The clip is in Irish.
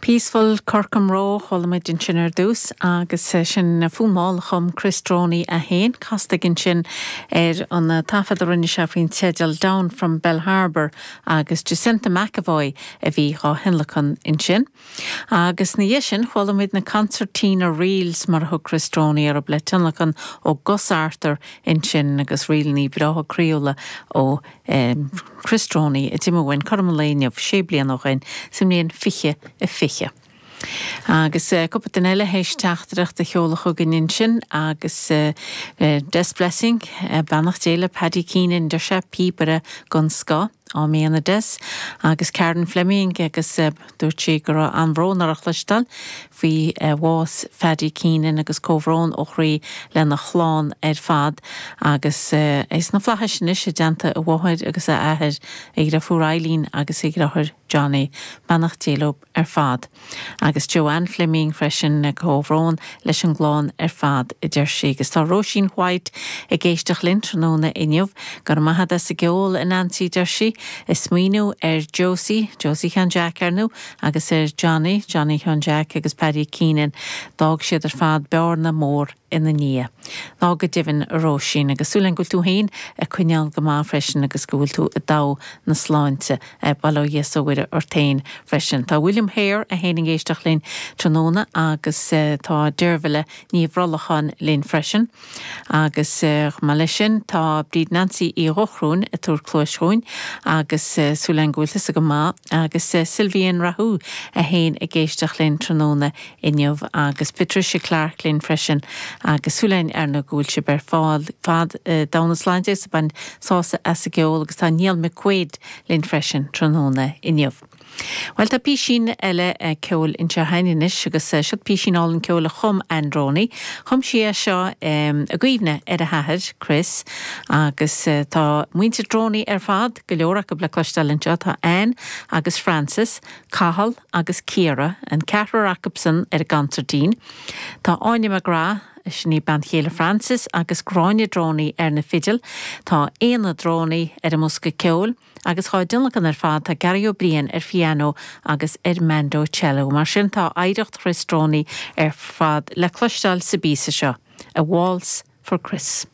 Peaceful Corcomroe a chuala muid ansin ar dtús agus sin fonn mall a chum Chris Droney é féin, casta aige ansin ar an taifead a rinne sé faoin teideal Down from Bellharbour agus Jacinta McEvoy a bhí dhá thionlacan ansin. Agus ina dhiaidh sin chuala muid na Concertina Reels mar a thug Chris Droney orthu le tionlacan ó Gus Arthur ansin agus ríleanna breátha croíúla ó Chris Droney a d'imigh uainn cothrom an lae inniu sé bliana ó shin, sa mbliain 2020. Agus cúpla duine eile théis teachtaireacht a sheoladh chugainn ansin agus Des Blessing, beannacht Dé le Paddy Keenan, deir sé, píobaire den scoth, Áiméan a Des. Agus Karen Fleming agus Dúirt sí go raibh an-bhrón uirthi a chloisteáil faoi bhás Phaddy Keenan agus comhbhrón ó chroí lena chlann ar fad agus é sna flaithis anois i dteannta a mháthair agus a athair, a dhriofúr Eileen agus a dhriotháir Johnny. Beannacht Dé leo ar fad. Agus Joanne Fleming freisin, comhbhrón leis an gclann ar fad, a deir sí. Agus tá Róisín White ag éisteacht linn tráthnóna inniu. Go raibh maith agat as an gceol, a Nancy, a deir sí. Ag smaoineamh ar Josie, Josie Sheáin Jeaic, ar ndú, agus ar Johnny, Johnny Sheáin Jeaic agus Paddy Keenan. D'fhág siad ar fad bearna mór ina ndiaidh. Ná go deimhin, a Róisín, agus súil agam go bhfuil tú féin ag coinneáil go maith freisin agus go bhfuil tú i dtogha na sláinte. Bail ó Dhia 's ó Mhuire ort féin freisin. Tá William Hare é féin ag éisteacht linn tráthnóna agus tá Deirbhile Ní Bhrollacháin linn freisin. Agus chomh maith leis sin tá Bríd Nancy Uí Dhochrúin ag tabhairt cluais dhúinn agus súil againn go bhfuil tusa go maith agus Sylvian Rahu é féin ag éisteacht linn tráthnóna inniu agus Patricia Clarke linn freisin agus súil againn ar ndóigh go bhfuil sibh ar fad i dtogha na sláinte agus ag baint sásamh as an gceol agus tá Niall McQuaid linn freisin tráthnóna inniu. Bhuel, tá písín eile ceoil anseo againn anois agus seo písín álainn ceoil a chum Ann Droney. Chum sí é seo i gcuimhne ar a hathair, Chris, agus tá muintir Droney ar fad, go leor acu le cloisteáil anseo. Tá Ann agus Frances, Cathal agus Ciara, an ceathrar acubsan ar an gconsairtín. Tá Áine McGrath, sin í bean chéile Frances, agus Gráinne Droney ar na fidil. Tá Éanna Droney ar an mbosca ceoil. Agus dhá dtionlacan ar fad, tá Gary Ó Briain ar phianó agus ar mandocello. Mar sin, tá oidhreacht Chris Droney ar fad le cloisteáil sa bpíosa seo, A Waltz for Chris.